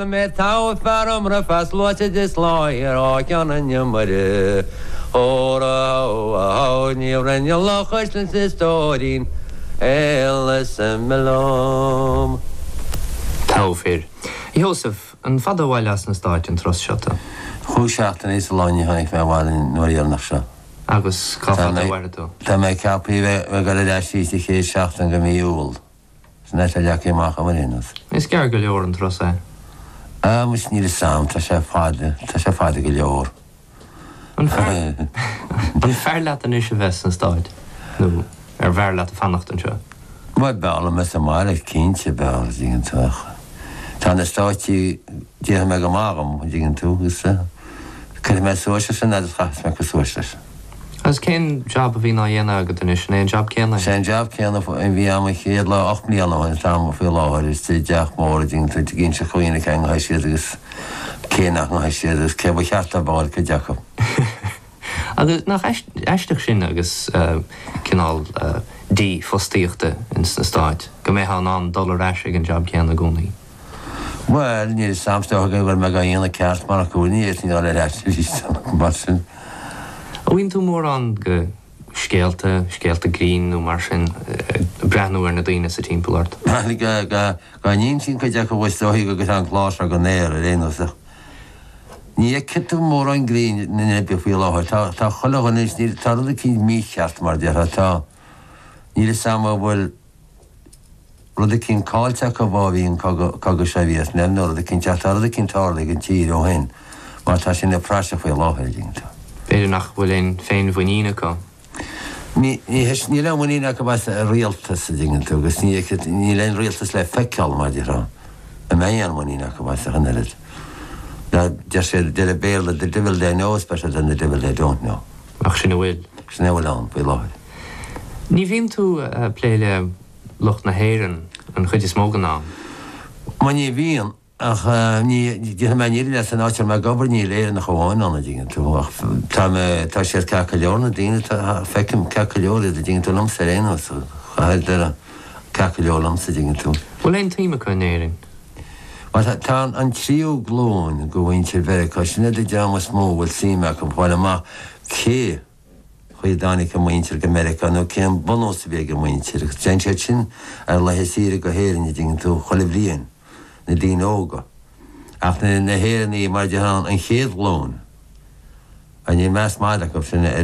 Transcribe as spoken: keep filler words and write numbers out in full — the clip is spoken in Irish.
Mé tá fear ra fas luite is láir á cean an iomaire. Óra ní rinne lechuis is stóirín eile sem. Togha fir. Sheosaimh, an fada abhaile as na Stáit an turas seo? Chúig seachtaine is lá tháinig mé abhaile nuair dhéanach seo. Agus cá fada a mhairfidh tú? Tá mé ceaptha bheith ag dul ar ais sa chéad seachtain de mhí Iúil. Sin é leacaí amach am aon Is gearr go leor an turas é. Ah mus níl sam tá sé fada tá sé fada go leor. An fearr leat anois a bheith sna Stáit nó ar bhfearr leat a fanacht anseo. Bhuel b'fhearr liom sa mbaile cinnte b'fhearr dtuigeann tú Tá na Stáit déanfaidh mé go maith agam dtuigeann tú agus cuirfidh mé suas sin agus chaithfidh mé go suas leis. Agus cén job a bhíonn á dhéanamh agat anois an é an job céanna? Sé an job céanna bhí agam an chéad lá ocht mbliana an t-am faoi láthair is teach mór dtuigeann tú ginn se chuoine ce ha siad agus cé nach ha siad agus cé ba cheart a bháil cuid acu. Agus nach aisteach sin agus cineál dífhostaíochta in sna Stáit, go mbeifeá in ann dul ar ais ag an job céanna i gcónaí. Well ní samstá go bhfuil me dhéana ceart mar go ní ar ais mar sin. Bhíonn tú mórán go scéalta, scéalta grinn nó mar sin breathnú ar na daoine sa timpeall ort. Ga níon sin chuid acu bhfuil go go an clár go néir ar aon nós. Ní tú mórán grinn na be faoi láthair tá chuile dhuine tá rud eicínt mícheart mar deartha tá níl sam bhfuil rud eicínt caillte acu bá bhí an cogadh sé Vítneam nó rud eicínt tá rud eicínt tarlaithe ag an tír ó shin mar tá sin na praiseach faoi láthair tú. B'fhéidir nach bhfuil aon féinmhuinín acu. Níl aon mhuinín acu as a rialtas a dtuigeann tú agus níl aon rialtas le feiceáil mar deartha a mbeidh aon mhuinín acu as a oiread. Deir sé deir an Béarla the devil they know is better than the devil they don't know. Ach sin a bhfuil. Sin é bhfuil ann faoi láthair. Ní bhíonn tú plé le lucht na hÉireann an chuid is mó den am. Ma ní bhíonn ach ní mé ní le san áit mé ag obair níl Éireannach amháin ann a dtuigeann tú ach tá mé tá siad ceart go leor na daoine feicim ceart go leor iad a dtuigeann tú liomsa ar aon nós chaithfidh ceart go leor liomsa a dtuigeann tú. Bhfuil aon tsuim acu in Éirinn? Well tá an tríú glúin go mhuintir Mheiriceá sin iad an dream is mó bhfuil suim acu fáil amach cé chaoi dtáinig a muintir go Meiriceá nó cén bunús a bhí ag a muintir agus déan siad sin ar laethe saoire go hÉirinn a dtuigeann tú chuile bhliain na daoine óga. Ach na na hÉireannaigh mar deartha an chéad ghlúin a ní meas maith acu sin ar